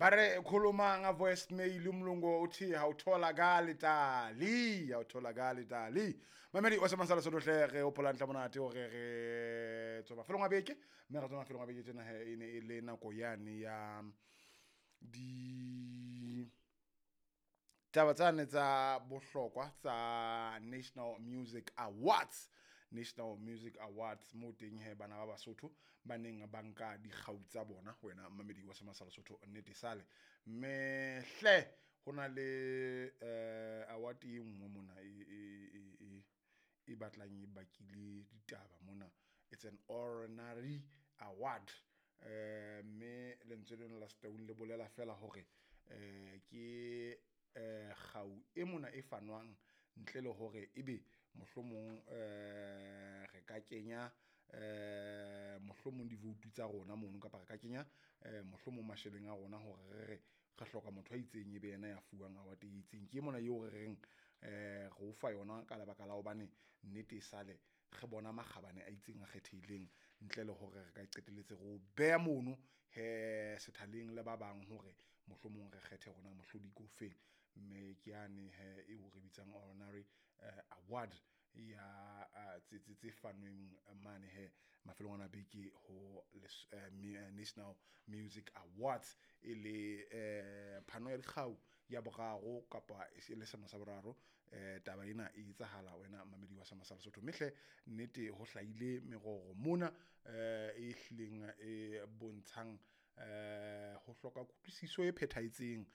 Ba re khuluma nga voicemail, umlungu uthi awutholakali tali, awutholakali tali. Mamedi wa Semasala Sotho hle, re hopola ntle monate hore re tswa mafelong a beke, mme re tswa mafelong a beke tjena he, e ne e le nako yane ya di taba tsane tsa bohlokwa tsa National Music Awards. National Music Awards mo teng he bana ba Basotho ba neng ba nka dikgau tsa bona. Wena mamedi wa Semasala Sotho, nnete sale mme hle ho na le award e nngwe mona e batlang e bakile ditaba mona. It's an honorary award, mme lentswe lena la Setaung le bolela fela hore ke kgau e mona e fanwang ntle le hore ebe mohlomong re ka kenya mohlomong di-vote tsa rona mono, kapa re ka kenya mohlomong masheleng a rona hore re re re hloka motho a itseng ebe yena ya fuwang award e itseng. Ke mona eo re reng re o fa yona ka lebaka la hobane nnete e sale re bona makgabane a itseng a kgethehileng, ntle le hore re ka qetelletse re o beha mono he sethaleng le ba bang hore mohlomong re kgethe rona mohlodi ke ofeng. Mme ke yane he eo re bitsang honorary award ya tse fanweng mane he mafelong ana beke ho National Music Awards, e le phano ya dikgau ya boraro kapa e le selemo sa boraro. Taba ena e etsahala, wena mamedi wa Semasala Sotho, mme hle nnete ho hlahile meroro mona e hlileng e bontshang ho hloka kutlwisiso e phethahetseng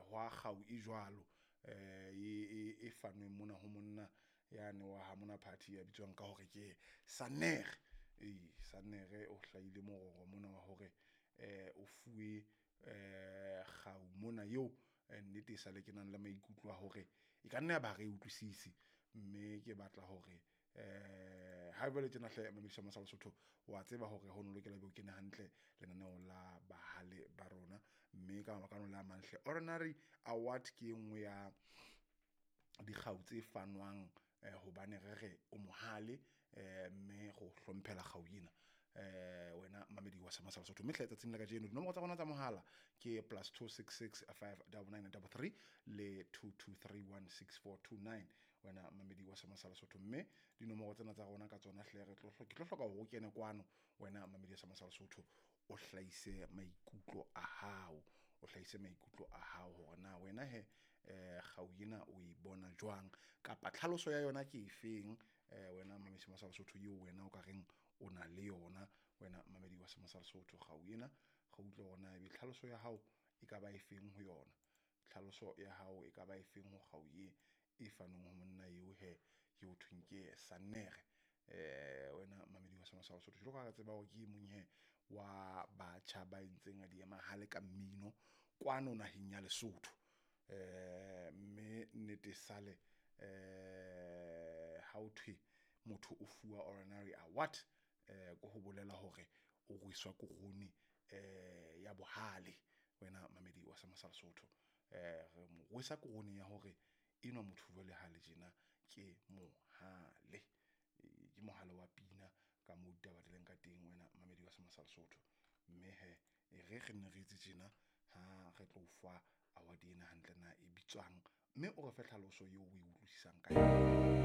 hwa kgau e jwalo e fanweng mona ho monna yane wa ha mona party ya bitswang ka hore ke Sannere. Ee, Sannere o hlahile mororo mona wa hore o fuwe kgau mona eo nnete e sale ke nang le maikutlo a hore e ka nna ya ba ha re utlwisise. Mme ke batla hore ha jwale tjena hle mamedisa Masala Sotho, wa tseba hore ho no lokela ebe o kene hantle lenaneong la bahale ba rona, mme ka mabaka ano le a mang hle honorary award ke e nngwe ya dikgau tse fanwang hobane re re o mohale, mme re o hlomphela kgau ena. Wena mamedi wa Semasala Sotho, mme hle tsatsing la kajeno dinomoro tsa rona tsa mohala ke +266 59933 le 22316429, wena mamedi wa Semasala Sotho. Mme dinomoro tsena tsa rona ka tsona hle re tlo ke tlo hloka hore o kene kwano, wena mamedi wa Semasala Sotho, o hlahise maikutlo a hao, o hlahise maikutlo a hao hore na wena he kgau ena o e bona jwang kapa tlhaloso ya yona ke efeng. Wena mamedi wa Sotho eo wena o ka reng o na le yona, wena mamedi wa Semasala Sotho, kgau ena re utlwe hore na ebe tlhaloso ya hao e ka ba efeng ho yona, tlhaloso ya hao e ka ba efeng ho kgau e e fanweng ho monna eo he ke ho thweng ke Sannere. Wena mamedi wa Semasala Sotho, jwalo ka re tseba hore ke e mong he wa batjha ba entseng a di emahale ka mmino kwano naheng ya Lesotho. Mme nnete sale ha o thwe motho o fuwa honorary award, ko ho bolela hore o rweswa korone ya bohale. Wena mamedi wa Semasala Sotho, re mo rwesa korone ya hore enwa motho jwale ha le tjena ke mohale, ke mohale wa pina ka moo ditaba di leng ka teng, wena mamedi wa Semasala Sotho. Mme he e re re nne re etse tjena ha re tlo fa award ena hantle na e bitswang, mme o re fe tlhaloso eo o e utlwisisang ka yona.